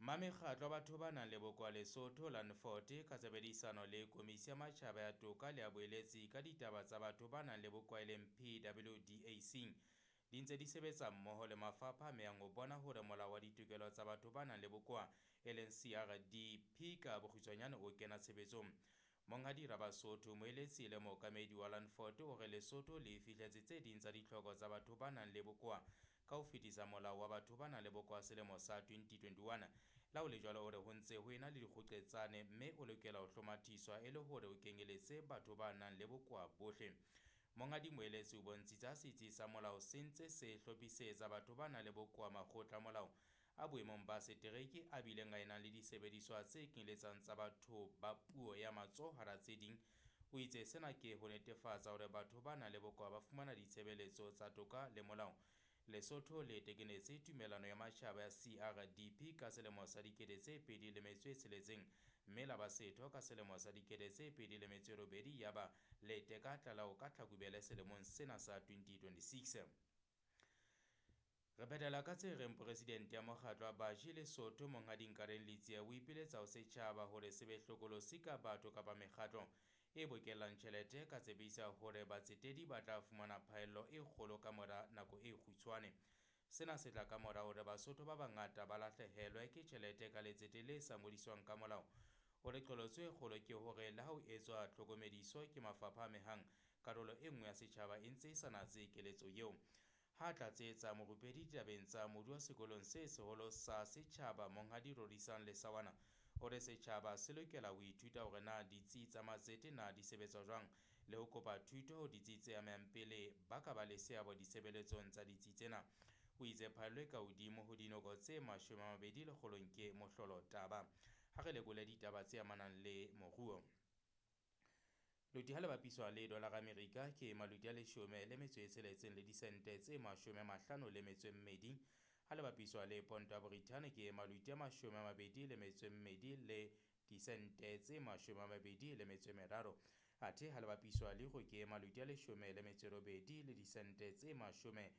Mamekgatlo a batho ba nang le bokowa Lesotho Landford ka tshebedisano le Komisi ya Matjhaba ya Toka le ya Boeletsi ka ditaba tsa batho ba nang le bokowa e leng PWDAC di ntse di sebetsa mmoho le mafapha a amehang ho bona hore molao wa ditokelo tsa batho ba nang le bokowa e leng CRDP ka bokgutshwanyane o kena tshebetsong. Monghadi Rabasotho, moeletsi le mookamedi wa Landford o re Lesotho le fihletse tse ding tsa ditlhoko tsa batho ba nang le bokowa ka ho fetisa molao wa batho ba nang le bokowa selemo sa 2021. La ho le jwalo o re ho ntse ho ena le dikgoqetsane mme o lokela ho hlomathiswa e le hore o kenyeletse batho ba nang le bokowa bohle. Monghadi Moeletsi o bontshitse ha setsi sa molao se ntse se hlophisetsa batho ba nang le bokowa makgotla a molao a boemong ba setereke a bileng a enang le disebediswa tse kenyeletsang tsa batho ba puo ya matsoho hara tse ding. O itse sena ke ho netefatsa hore batho ba nang le bokowa ba fumana ditshebeletso tsa toka le molao. Lesotho le tekenetse tumellano ya matjhaba ya CRDP ka selemo sa 2006 mme la ba setho ka selemo sa 2008 yaba le teka tlalao ka Tlhakubele selemong sena sa 2026. Re phethela ka tse reng presidente ya mokgatlo wa Baji Lesotho Monghadi Nkareng Letsie o ipiletsa ho setjhaba hore se be hlokolosi ka batho kapa mekgatlo e bokellang tjhelete ka tsebisa hore batsetedi ba tla fumana phaello e kgolo ka mora nako e kgutshwane. Sena se tla ka mora hore Basotho ba bangata ba lahlehelwe ke tjhelete ka letsete le sa ngodiswang ka molao. O re qholotso e kgolo ke hore le ha ho etswa tlhokomediso ke mafapha a amehang, karolo e nngwe ya setjhaba e ntse e sa natse keletso eo. Ha tlatsetsa morupedi ditabeng tsa moruo sekolong se seholo sa setjhaba Monghadi Rorisang Lesawana o re setjhaba se lokela ho ithuta hore na ditsi tsa matsete na di sebetsa jwang le ho kopa thuto ho ditsi tse amehang pele ba ka ba le seabo ditshebeletsong tsa ditsi tsena. O itse phaello e ka hodimo ho dinoko tse 20 lekgolong ke mohlolo taba. Ha re lekole ditaba tse amanang le moruo. Loti ha le bapiswa le dolara Amerika ke maluti a 16 le disente tse 52. Ha le bapiswa le ponto ya Brithani ke maluti a 22 le disente tse 23. Athe ha le bapiswa le euro ke maluti a 18 le disente tse 89.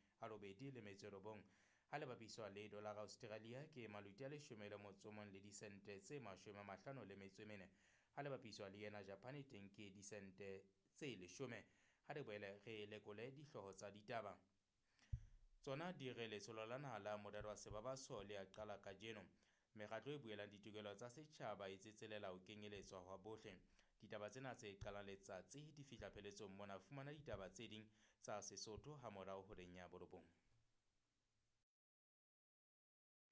Ha le bapiswa le dolara Australia ke maluti a 11 le disente tse 54. Ha le bapiswa le yena Japan teng ke disente tse 10. Ha re boele re lekole dihlooho tsa ditaba. Tsona di re letsholo la naha la morero wa sebabaso le a qala kajeno. Mekgatlo e buelang ditokelo tsa setjhaba e tsetselela ho kenyeletswa hwa bohle. Ditaba tsena tse qalang letsatsi di fihla pheletsong mona. Fumana ditaba tse ding tsa Sesotho ha morao horeng ya 9.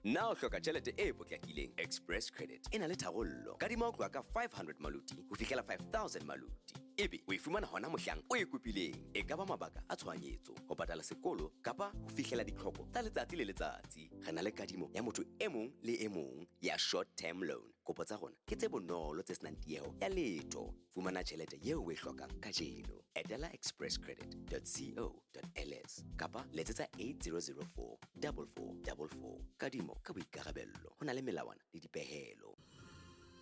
Na o hloka tjhelete e potlakileng? Express Credit e na le tharollo. Kadima ho tloha ka 500 maluti ho fihlela 5000 maluti. Ebe o e fumana hona mohlang o e kopileng. E ka ba mabaka a tshohanyetso, ho patala sekolo kapa ho fihlela ditlhoko tsa letsatsi le letsatsi. Re na le kadimo ya motho e mong le e mong ya short term loan. Kopo tsa rona ke tse bonolo tse senang tieho ya letho. Fumana tjhelete eo o e hlokang kajeno. Etela expresscredit.co.ls kapa letsetsa 8004 4444. Kadimo ka boikarabello. Ho na le melawana le dipehelo.